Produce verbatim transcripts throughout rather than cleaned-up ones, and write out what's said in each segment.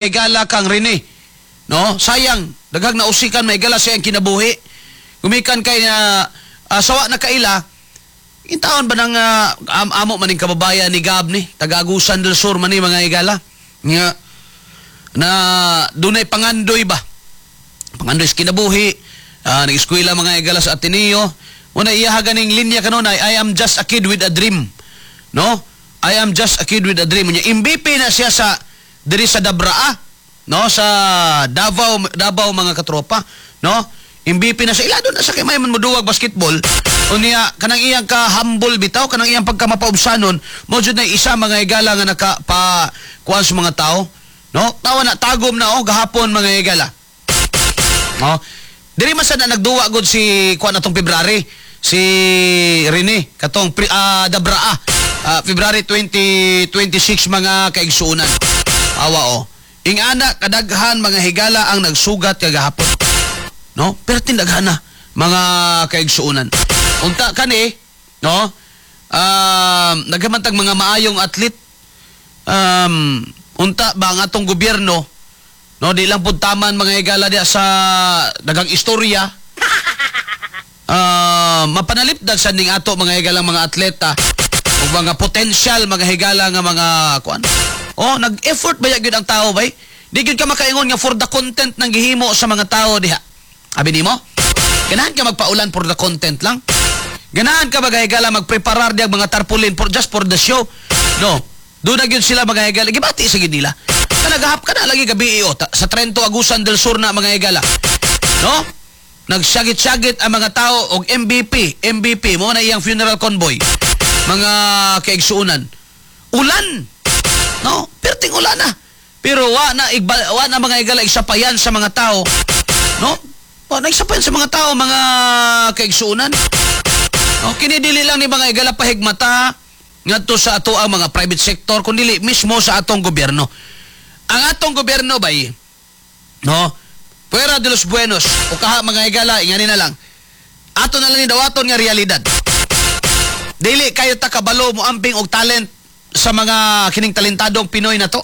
Higala kang Rene. No? Sayang, daghang nausikan may higala sa iyang kinabuhi. Gumikan kay na uh, sawa na kaila, intaon ba nang ah, am amo maning kababayan ni Gab ni, taga-Agusan del Sur man ni, mga higala. Nga na dunay pangandoy ba? Pangandoy sa kinabuhi, uh, nag-eskwela, mga higala, sa Ateneo. Una iya ganing linya kanunay, "I am just a kid with a dream." No? "I am just a kid with a dream." Unya M V P na siya sa diri sa Dabraa, no? Sa Davao, Davao, mga katropa, no? M V P na siya. Ilado na sa kay may man moduwag basketball. Unya kanang iyang ka humble bitaw, kanang iyang pagka mapaubsanon, mo jud na isa, mga higala, nga naka pa kuan sa mga tao, no? Tawa na tagom na oh gahapon, mga higala. No? Diri man sad na nagduwa gud si kuan atong February, si Rene katong pri, ah, Dabraa. Ah, February twenty twenty-six, mga kaigsuonan. Awa oh. Ingana kadaghan, mga higala, ang nagsugat kagahapon. No? Pero tindaghan na, mga kaigsuonan. Unta kani, no? Um, naghamantag mga maayong athlete. Um, unta ba ang atong gobyerno, no, di lang pud taman, mga higala, diya sa dagang istorya. Ah, mapanalipdan sa ning ato, mga higalang mga atleta o mga potential, mga higala, nga mga kuan. Oh, nag-effort ba gyud ang tao bay? Di gyud ka makaingon nga for the content nang gihimo sa mga tao diha. Abi nimo? Ganahan ka magpaulan for the content lang? Ganahan ka, mga higala, magpreparar diya mga tarpaulin for just for the show? No. Doon na gyud sila, mga higala. Gibati sa gyud nila. Kanagahap ka na lagi gabi oh, ta- sa Trento Agusan del Sur na, mga higala. No? Nagsagit-sagit ang mga tao og M V P, M V P mo na iyang funeral convoy. Mga kaigsuonan. Ulan. No? Perting ulan na. Pero wa na igba, wa na, mga higala, isapayan sa mga tao. No? Wa na isapayan sa mga tao, mga kaigsuonan. No, kini dili lang ni, mga higala, pahigmata ngadto sa ato ang mga private sector kun dili mismo sa atong gobyerno. Ang atong gobyerno bay, no? Fuera de los buenos o kaha, mga higala, ingani na lang. Ato na lang ni dawaton nga realidad. Dili kayo ta kabalo mo amping og talent sa mga kining talentadong Pinoy na to.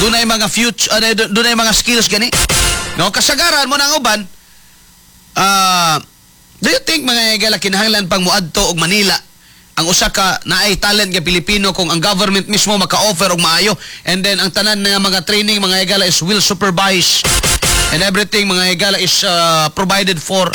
Dunay mga future, uh, dunay mga skills gani. No, kasagaran mo nang uban. Ah, do you think, mga higala, kinahanglan pang muadto og Manila ang usa ka naay talent nga Pilipino kung ang government mismo maka-offer og maayo and then ang tanan nga mga training, mga higala, is well supervised and everything, mga higala, is uh, provided for?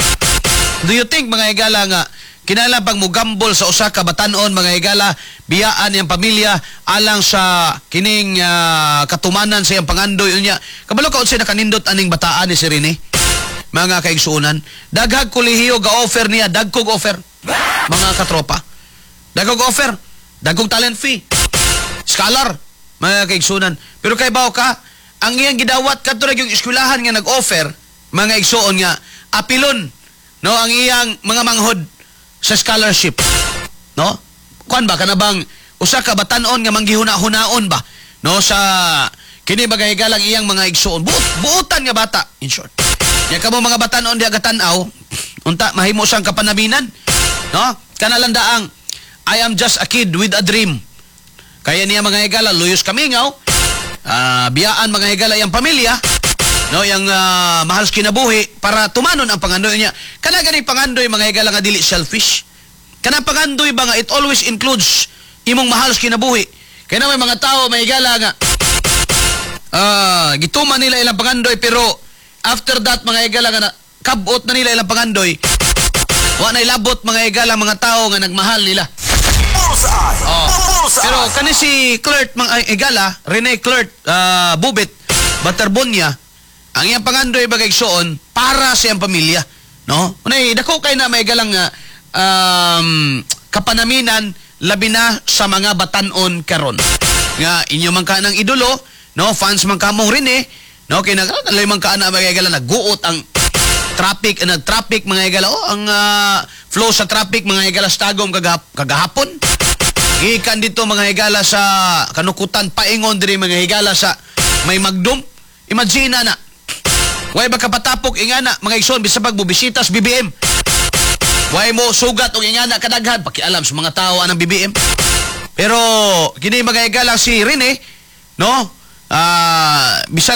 Do you think, mga higala, nga kinahanglan pang mugambol sa usa ka batanon, mga higala, biyaan iyang pamilya alang sa kining ah, katumanan sa iyang pangandoy? Unya kabalo ka unsay nakanindot aning bataan ni si Rene, mga kaigsuonan? Daghag kolehiyo ga-offer niya, dagkog offer, mga katropa, dagkog offer, dagkog talent fee, scholar, mga kaigsuonan. Pero kay bawo ka ang iyang gidawat kadto ra yung eskwelahan nga nag-offer, mga igsuon, nga apilon, no, ang iyang mga manghod sa scholarship, no? Kuan ba, kana bang usa ka batan-on nga manggihuna-hunaon ba, no, sa kini mga higalang iyang mga igsuon? Buot buotan nga bata, in short. Nya kamo mga batan-on diha gatanaw, unta mahimo siyang kapanaminan, no? Kana lang daang "I am just a kid with a dream." Kaya niya, mga higala, luyos kamingaw, ah, biyaan, mga higala, iyang pamilya, no, yang ah, mahal sa kinabuhi para tumanon ang pangandoy niya. Kana gani pangandoy, mga higala, nga dili selfish. Kana pangandoy ba nga it always includes imong mahal sa kinabuhi. Kaya na may mga tao, mga higala, nga ah, gituman nila ilang pangandoy, pero after that, mga higala, nga na, kabot na nila ilang pangandoy, wa na ilabot, mga higala, mga tao nga nagmahal nila. Bullseye! Oh. Bullseye! Pero kani si Clert, mga higala, Rene Clert uh, Bubit Baterbonia, ang iyang pangandoy bagay igsuon para sa iyang pamilya, no? Unay dako kay na may galang uh, um, kapanaminan labi na sa mga batanon karon. Nga inyo man ka ng idolo, no? Fans man kamong Rene, no? Kay nag man ka na, mga higala, nagguot ang traffic, eh, nag-traffic, mga higala, oh, ang ah, flow sa traffic, mga higala, sa Tagum kagahap kagahapon. Gikan dito, mga higala, sa kanukutan paingon diri, mga higala, sa may Magdum. Imagine na na. Way ba kapatapok ingana, mga igsoon, bisag pag bubisita sa B B M. Way mo sugat og ingana kadaghan pakialam sa mga tao anang B B M. Pero kini, mga higala, si Rene, no? Ah, bisag